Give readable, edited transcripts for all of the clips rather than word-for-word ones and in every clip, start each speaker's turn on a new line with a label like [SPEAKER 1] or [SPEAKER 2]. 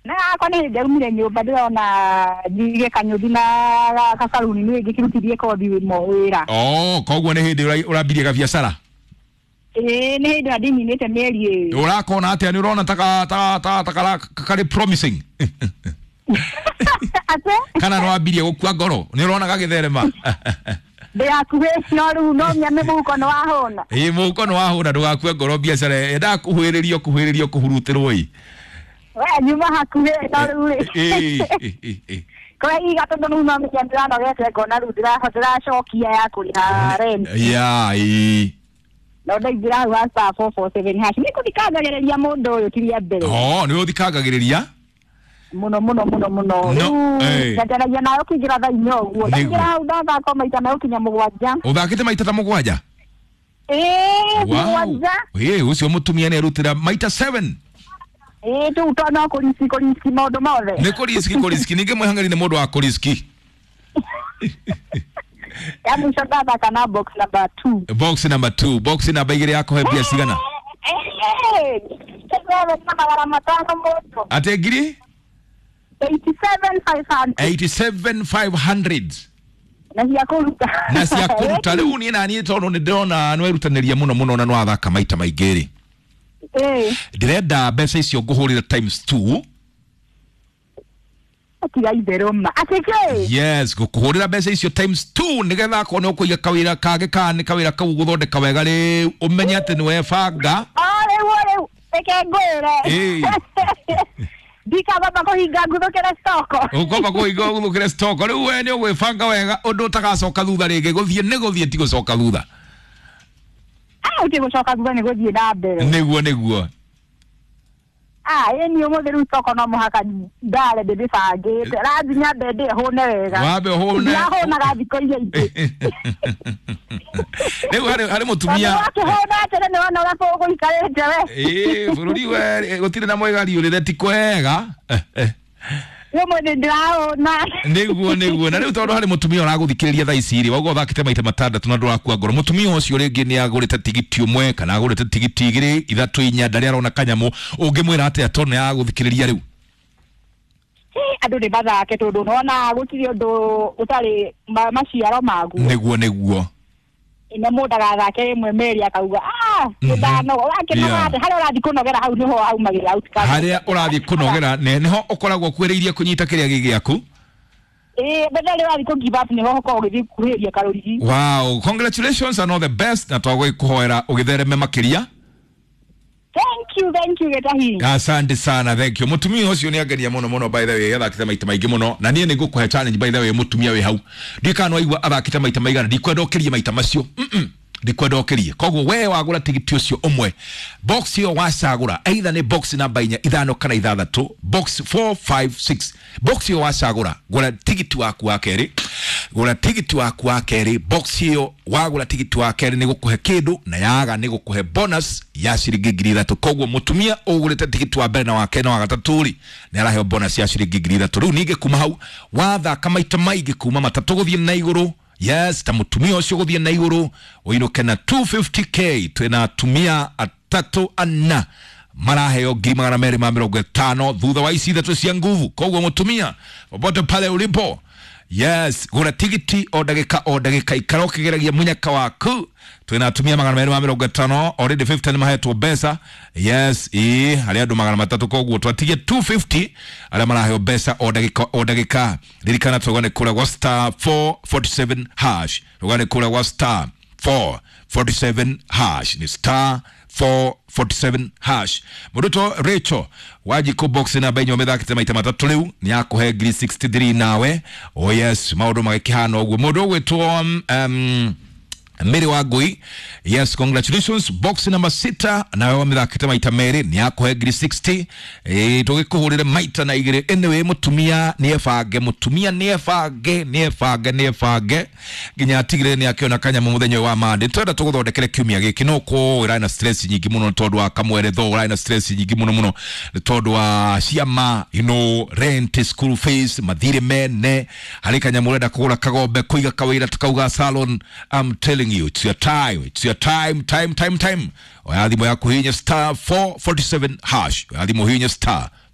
[SPEAKER 1] Na akwa nĩ ndaumire nyũmba ndĩrona njige kanyũthi na gacaruni nĩ ngĩkĩrutithie kothi wĩra.
[SPEAKER 2] Oh, koguo nĩ hĩndĩ ũrambirie gabiacara?
[SPEAKER 1] Ĩĩ, nĩ hĩndĩ ndĩninĩte mĩeri ĩĩrĩ.
[SPEAKER 2] Ũrakona atĩa? Nĩ ũrona ta karĩ promising?
[SPEAKER 1] Atĩ?
[SPEAKER 2] Kana nĩ wambirie gũkua ngoro? Nĩ ũrona gagĩtherema?
[SPEAKER 1] Ndĩ hakuhĩ, no rĩu no nyame mũhuko nĩ wahũna.
[SPEAKER 2] Ĩĩ, mũhuko nĩ wahũna, ndũgakue ngoro, biacara yendaga kũhuhĩrĩrio kũhuhĩrĩrio kũhurutĩrwo ĩ.
[SPEAKER 1] We nyuma hakuhĩ no rĩu rĩ.
[SPEAKER 2] Ĩĩ.
[SPEAKER 1] Kwa iga tondũ rĩu no menya ndĩranogete ngona rĩu ndĩracokia ya kũrĩha rent.
[SPEAKER 2] Ya, ĩĩ.
[SPEAKER 1] No ndaingĩra hau ha *447#. Nĩ kũthikangagĩrĩria mũndũ ũyũ ti rĩa mbere.
[SPEAKER 2] Oh, nĩ ũthikangagĩrĩria?
[SPEAKER 1] Mũno mũno mũno mũno. Rĩu njanjanagia nayo kũingĩra thaa inya ũguo. Ndaingĩra hau ndathaka maita megũkinya 7.
[SPEAKER 2] Ũthakĩte maita ta 7?
[SPEAKER 1] Ĩĩ, 7.
[SPEAKER 2] Ĩĩ, ũcio mũtumia nĩ arutĩra maita 7.
[SPEAKER 1] Ĩĩ, rĩu to no kũriski kũriski maũndũ mothe.
[SPEAKER 2] Nĩ kũriski kũriski, ningĩ mwĩhang'eri nĩ mũndũ wa kũriski.
[SPEAKER 1] Ya mũico ndathaka na box number 2.
[SPEAKER 2] Box number 2, box namba 2 yakũhe mbia cigana?
[SPEAKER 1] Na magana matano mũndũ.
[SPEAKER 2] Atĩ ngiri?
[SPEAKER 1] 87,500.
[SPEAKER 2] 87,500.
[SPEAKER 1] Na cia kũruta.
[SPEAKER 2] Na cia kũruta. Rĩu niĩ naniĩ tondũ nĩ ndĩrona nĩwerutanĩria mũno mũno na nĩwathaka maita maingĩ rĩ. Ndĩrenda mbeca icio ngũhũrĩre times 2.
[SPEAKER 1] Tiga itherũ ma. Atĩ kĩ?
[SPEAKER 2] Yes, ngũkũhũrĩra mbeca icio times 2 nĩgetha akorwo nĩ ũkũiga kawĩra kangĩ kana nĩ kawĩra kau gũthondeka wega rĩu ũmenye atĩ nĩ webanga.
[SPEAKER 1] O rĩu rĩu reke ngwĩre. Ndikabamba kũhinga nguthũkĩre stoko.
[SPEAKER 2] Ũkwamba kũhinga ũguthũkĩre stoko. Rĩu we nĩ ũgwĩbanga wega ũndũ ũtagacoka thutha rĩngĩ. Gũthiĩ nĩ gũthiĩ, ti gũcoka thutha.
[SPEAKER 1] Ah, ũti gũcoka thutha nĩ gũthiĩ na mbere.
[SPEAKER 2] Nĩguo nĩguo.
[SPEAKER 1] Ah, ĩĩ niĩ ũmũthĩ rĩu stoko no mũhaka ndare ndĩmĩbangĩte. Rathiĩ nyambe ndĩe hũne wega.
[SPEAKER 2] Wambe ũhũne.
[SPEAKER 1] Ndirahũnaga thikũ iria ingĩ.
[SPEAKER 2] Rĩu harĩ mũtumia.
[SPEAKER 1] Tondũ wakĩhũna atĩrĩ nĩ wona ũrĩa gũikarĩte we.
[SPEAKER 2] Ĩĩ, bũrũri we gũtirĩ na mwĩgari ũrĩre ti kwega.
[SPEAKER 1] Ũmũthĩ ndĩrahũna.
[SPEAKER 2] Nĩguo nĩguo. Na rĩu tondũ harĩ mũtumia ũragũthikĩrĩria thaa ici rĩ, waigua ũthakĩte maita 6 na ndũrakua ngoro. Mũtumia ũcio rĩngĩ nĩ agũrĩte tigiti ũmwe kana agũrĩte tigiti 2, 3, 4, ndarĩ arona kanyamũ. Ũngĩmwĩra atĩa tondũ nĩ aragũthikĩrĩria rĩu?
[SPEAKER 1] Andũ nĩ mathake tondũ nĩwona gũtirĩ ũndũ ũtarĩ maciaro maguo.
[SPEAKER 2] Nĩguo nĩguo.
[SPEAKER 1] Na mũndũ ndagathake rĩmwe merĩ akauga ah ndanoga, wakĩnoga atĩ harĩa ũrathiĩ kũnogera hau nĩho aumagĩra outcome.
[SPEAKER 2] Harĩa ũrathiĩ kũnogera nĩho ũkoragwo ũkuhĩrĩirie kũnyita kĩrĩa gĩ gĩaku.
[SPEAKER 1] Ĩĩ, but harĩa ũrathiĩ kũ give up nĩho ũkoragwo ũgĩthiĩ kuhĩrĩria karũrigi.
[SPEAKER 2] Wow, congratulations and all the best, na twagũkũhoera ũgĩthereme makĩria.
[SPEAKER 1] Thank you, thank you Gĩtahi.
[SPEAKER 2] Asante sana, thank you. Mũtumia ũcio nĩ angenia mũno mũno, by the way, athakĩte maita maingĩ mũno. Na niĩ nĩ ngũkũhe challenge, by the way, mũtumia wĩ hau. Ndiũĩ kana nĩwaigua athakĩte maita maigana, ndikwenda ũkĩrie maita macio. Ndikwenda ũkĩrie. Koguo we wagũra tigiti ũcio ũmwe, box ĩyo wacagũra, either nĩ box namba 4, 5 kana 6, box 4, 5, 6. Box ĩyo wacagũra, gũra tigiti waku wa kerĩ. Gũra tigiti waku wa kerĩ, box ĩyo wagũra tigiti wa kerĩ nĩ gũkũhe kĩndũ na yaga nĩ gũkũhe bonus ya ciringi 3,000. Koguo mũtumia ũgũrĩte tigiti wa mbere na wa kerĩ na wa gatatũ rĩ, nĩ araheo bonus ya ciringi 3,000. Rĩu ningĩ kuma hau wathaka maita maingĩ kuma 3 gũthiĩ na igũrũ. Yes, ta mũtumia ũcio gũthiĩ na igũrũ ũinũke na 250k. Twĩna atumia 3 4 maraheo 250,000 thutha wa ici 3 cia nguvu. Koguo mũtumia popote pale ulipo, yes, gũra tigiti o ndagĩka o ndagĩka, ikara ũkĩgeragia mũnyaka waku. Twĩna atumia 250, already 50 nĩ mahetwo mbeca. Yes, ĩĩ, harĩ andũ 300, koguo twatigie 250 arĩa maraheo mbeca o ndagĩka o ndagĩka. Ririkana tũgane kũrĩa gwa *447#, tũgane kũrĩa gwa *447#, nĩ *447#. Mũndũ Rachel Wanjikũ box namba 4 ũmĩthakĩte maita 3 rĩu nĩ akũhe ngiri 63 nawe. Oh yes, maũndũ magĩkĩhana ũguo. Mũndũ ũgwĩtwo Mary Wangui, yes, congratulations. Box number 6 nawe wamĩthakĩte maita 2 nĩ akũhe ngiri 60. Tũgĩkũhũrĩre maita na 2. Anyway, mũtumia nĩ ebange, mũtumia nĩ ebange, nĩ ebange, nĩ ebange nginya atigĩrĩre nĩ akĩona kanyamũ mũthenya ũyũ wa Monday. Twenda tũgũthondekere kiumia gĩkĩ, no kũ ũrarĩ na stress nyingĩ mũno tondũ wa kamweretho, ũrarĩ na stress nyingĩ mũno mũno nĩ tondũ wa ciama, you know, rent, school fees, mathirĩ mene, harĩ kanyamũ ũrenda kũgũra kagombe, kũiga kawĩra tukauga salon. I'm telling you, it's your time, it's your time, time, time, time. Oya thimũ yaku hinya *447#, oya thimũ hinya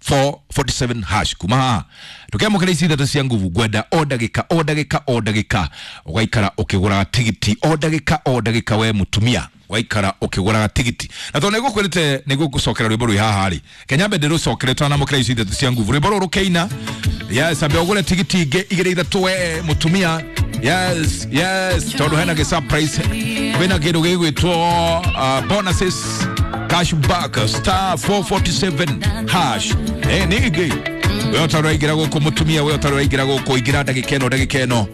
[SPEAKER 2] 447 hash. Kuma haha tukiamũkĩra ici ithatũ cia nguvu, ngwenda o ndagĩka o ndagĩka o ndagĩka ũgaikara ũkĩgũraga tigiti o ndagĩka o ndagĩka, we mũtumia waikara ũkĩgũraga tigiti. Na tondũ nĩngũkwĩrĩte nĩngũgũcokera rwĩmbo rwĩ haha rĩ, kenyambe ndĩrũcokere twanamũkĩra ici ithatũ cia nguvu, rwĩmbo rũrũ rũkĩina. Yes, ambe ũgũre tigiti ingĩ igĩrĩ ithatũ, we mũtumia. Yes, tondũ hena gĩ surprise, kwĩna kĩndũ gĩgwĩtwo bonuses, cash back, star 447 hash. Nĩ ingĩ we ũtarĩ waingĩra gũkũ, mũtumia, we ũtarĩ waingĩra gũkũ, ingĩra ndagĩka ĩno, ndagĩka ĩno.